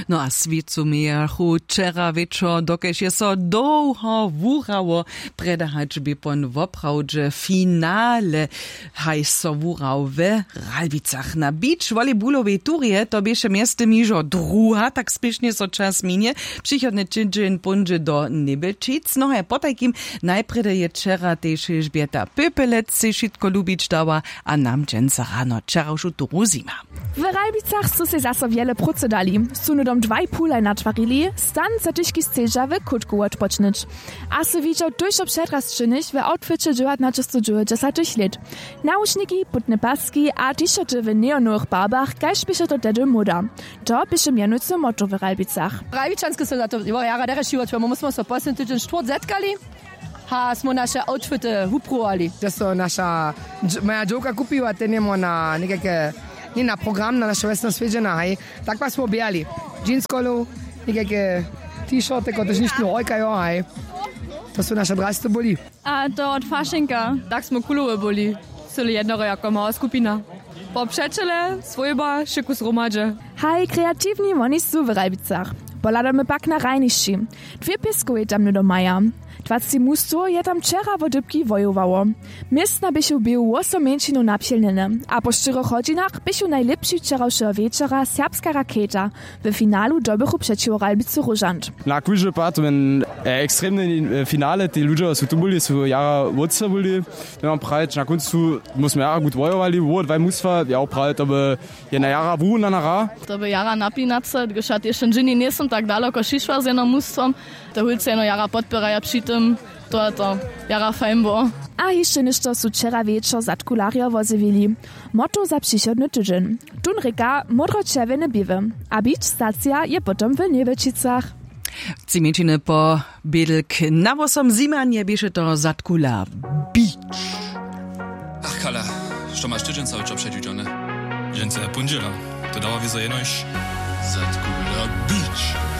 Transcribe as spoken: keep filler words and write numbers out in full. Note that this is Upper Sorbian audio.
No a swěcu mějachu wčera wječor, dokelž je so dołho wurało, prjedy hač bě pon woprawdźe finale, haj so wurał we Ralbicach na beach volleybulowej turje. To běše mjeztym hižo druha, tak spěšnje so čas minje. Přichodny tydźeń póńdźe do Njebjelčic. No haj potajkim, najprjedy je wčera tež Elžbjeta Pöpelec sej wšitko lubić dała a nam dźensa rano wčerawšu turu zjima. W Ralbicach su sej zaso wjele prócy dali. Su hnydom dwajpółhaj natwarili, stan za tyžki sceža w kótku wotpočnyć. A sy widźał tójšto předrasćenych w outfiće dźewjatnaćestodźewjećdźesatych lět. Nawušniki, putne paski a t-shirty w neonowych barbach, kaž běše to tehdy móda. To běše mjenujcy motto w Ralbicach. Ralbičanske su za to jara derje šiwotwje, my smy so posledni tydźeń štwórtk zetkali. Ha smy naše outfity wupruwali. To so naša dž- moja dźowka kupiła, ten jemo na někajke, ně na program na naše wjesno swjedźena, haj. Tak pak smy běhali jeanskolu, někajke t-shirty, kotrež nichtnu hojkajo, haj. To su naše drasty byli. A to wot fašenka. Tak smy kulowe byli, cyle jednore jako mała skupina. Po přećele swójba wšěku zhromadźe. Haj, kreatiwni woni su w Ralbicach. Pohladamy pak na hrajnišći. Dwě pěskowje tam hnydom maja. Dwacci mustwow je tam wčera wo dypki wojowało. Městna běchu w běhu wosom mjeńšinow napjelnjene a po štyrjoch hodźinach běchu najlěpši wčerawšeho wječora serbska raketa w finalu dobychu přećiwo Ralbicy Róžant. Na kóždy pad ten ekstremny finale, te ludźo su tu byli, su jara wótře byli. Nemam prajić, na kóncu mósmy jara gut wojowali, wo dwaj mustwa, ja prajić, to by jedna jara wurunana hra. To by jara napinace, gdyž ja tež ten dźeni njejsym tak daloko šišła z jednym mustwom. To hólcy jeno jara podpěraja při tym. To je to jara fajn było. A hišće něšto su wčera wječor zadkularjo wozjewili. Motto za přichodny tydźeń. Tón rěka módro-čerwjene běły. A beach stacija je potom w Njewjelčicach. Tři mjeńšiny po bědlk na wosom zjimanje běše to zadkula beach. Ach kala, što maš tydźenca wčor předwidźane? Dźensa je póndźěla. To dawa wězo jenož zadkula beach.